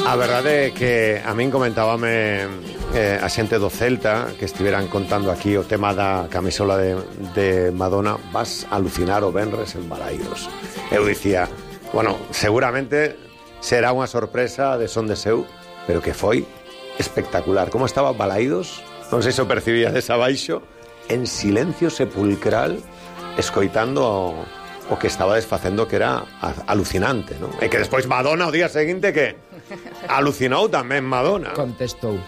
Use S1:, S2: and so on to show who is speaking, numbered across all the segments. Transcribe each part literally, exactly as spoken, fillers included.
S1: A verdade é que a min comentábame eh, a xente do Celta que estiveran contando aquí o tema da camisola de, de Madonna. Vas a alucinar o venres en Balaídos. Eu dicía, bueno, seguramente será unha sorpresa de Son de Seu, pero que foi espectacular. Como estaba Balaídos, non sei se o percibía desabaixo, en silencio sepulcral, escoitando o, o que estaba desfacendo, que era alucinante, non? E que despois Madonna o día seguinte que alucinou tamén Madonna.
S2: Contestou.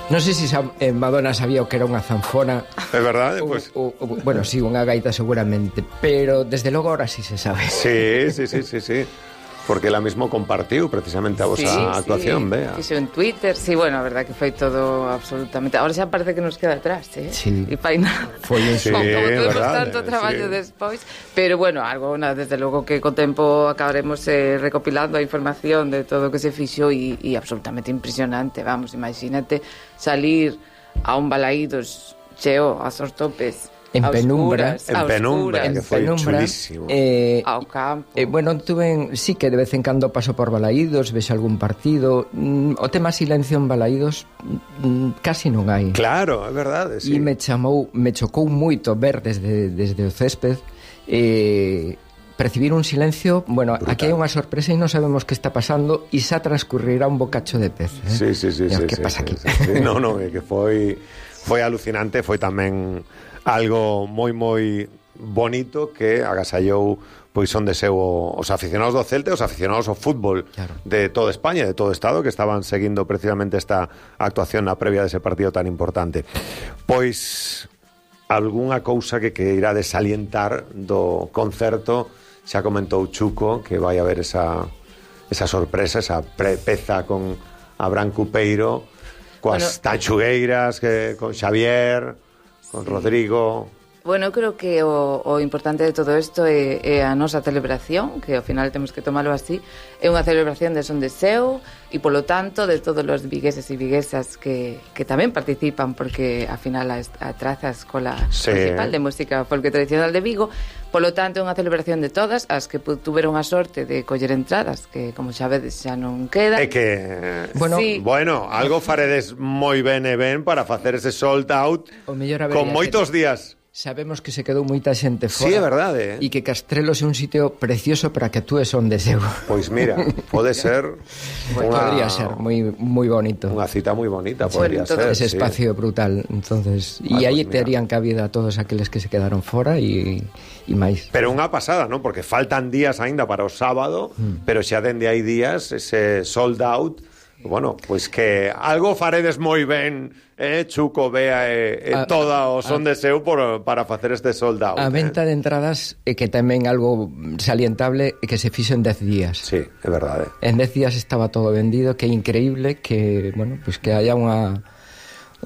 S2: Non sei se eh, Madonna sabía o que era unha zanfona.
S1: É verdade, pois.
S2: Pues... Bueno, sí, unha gaita seguramente, pero desde logo ahora sí se sabe.
S1: Sí, sí, sí, sí, sí. Porque ela mismo compartiu precisamente a vosa
S3: sí,
S1: actuación,
S3: sí.
S1: vea.
S3: Fixo en Twitter, sí, bueno, a verdad que foi todo absolutamente... Ahora xa parece que nos queda atrás, eh?
S2: Sí.
S3: E fai nada.
S2: Foi
S1: Sí,
S2: eso.
S3: Como temos
S1: verdade,
S3: tanto traballo
S1: sí.
S3: despois. Pero bueno, algo, nada, desde logo que co tempo acabaremos eh, recopilando a información de todo o que se fixo e, e absolutamente impresionante, vamos, imagínate salir a un Balaídos cheo a sos topes,
S2: en
S3: a
S2: penumbra,
S3: oscuras,
S1: en
S3: a
S1: penumbra,
S3: oscuras,
S1: que foi
S2: penumbra,
S1: chulísimo.
S2: Eh,
S3: ao campo.
S2: Eh, bueno, tuve, sí que de vez en cando paso por Balaídos, vexo algún partido. Mm, o tema silencio en Balaídos mm, casi non hai.
S1: Claro, é verdade, sí.
S2: E me chamou, me chocou moito ver desde, desde o césped eh, percibir un silencio. Bueno,
S1: brutal.
S2: aquí hai unha sorpresa e non sabemos que está pasando e xa transcurrirá un bocacho de pez, eh?
S1: Sí, sí, sí,
S2: Mira,
S1: sí,
S2: que
S1: sí,
S2: pasa
S1: sí,
S2: aquí?
S1: sí, sí. No, no, é que foi foi alucinante, foi tamén algo moi moi bonito que agasallou pois Son de Seu os aficionados do Celta e os aficionados ao fútbol, claro, de toda España, de todo o Estado, que estaban seguindo precisamente esta actuación na previa dese partido tan importante. Pois algunha cousa que queirades salientar do concerto. Xa comentou Chuco que vai haber esa, esa sorpresa, esa pre- peza con Abraham Cupeiro, coas bueno, tanchugueiras, que, con Xavier, con sí. Rodrigo.
S3: Bueno, eu creo que o, o importante de todo isto é, é a nosa celebración, que ao final temos que tomarlo así. É unha celebración de Son de Seu e, polo tanto, de todos os vigueses e viguesas que, que tamén participan, porque, ao final, a, a traza a Escola sí. Principal de Música Folk Tradicional de Vigo. Polo tanto, é unha celebración de todas as que tuveron a sorte de coller entradas, que, como xa vedes, xa non queda.
S1: É que,
S2: bueno,
S3: sí.
S1: bueno, algo faredes moi ben e ben para facer ese sold out con moitos días.
S2: Sabemos que se quedou moita xente fora.
S1: Sí, é verdade, eh?
S2: E que Castrelos é un sitio precioso para que actúes Son de Seu.
S1: Pois mira, pode ser
S2: pues
S1: unha,
S2: podría ser moi moi bonito.
S1: Unha cita moi bonita, podría
S3: bueno,
S1: ser.
S2: Ese
S1: sí.
S2: espacio brutal, entonces, e
S1: ah,
S2: aí
S1: pues
S2: terían cabida a todos aqueles que se quedaron fora e e máis.
S1: Pero unha pasada, non? Porque faltan días aínda para o sábado, mm. pero xa dende hai días ese sold out. Bueno, pois que algo faredes moi ben, eh, Chuco, Bea e, e a, toda o Son a, de Seu por, para facer este sold out.
S2: A venta
S1: eh.
S2: de entradas é que tamén algo salientable é que se fixo en dez días.
S1: Sí, é verdade.
S2: En dez días estaba todo vendido, que é increíble que, bueno, pois que haya unha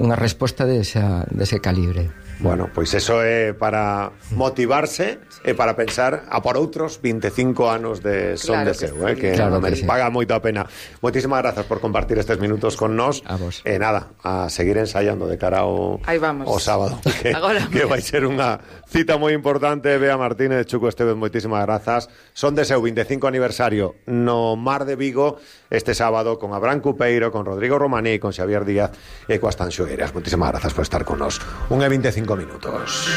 S2: unha resposta desa, dese calibre.
S1: Bueno, pois eso é para motivarse e para pensar a por outros vinte e cinco anos de Son
S3: claro
S1: de Seu,
S3: que
S1: eh, que,
S2: claro
S1: que
S2: sí.
S1: paga moito a pena. Moitísimas grazas por compartir estes minutos con nós.
S2: A vos.
S1: E nada, a seguir ensaiando de cara ao, ao sábado, que, que vai ser unha cita moi importante. Bea Martínez, Chuco Esteves, moitísimas grazas. Son de Seu, vinte e cinco aniversario no Mar de Vigo este sábado con Abraham Cupeiro, con Rodrigo Romaní, con Xavier Díaz e coas Tanxugueiras. Moitísimas grazas por estar con nós. Un e vinte e cinco minutos.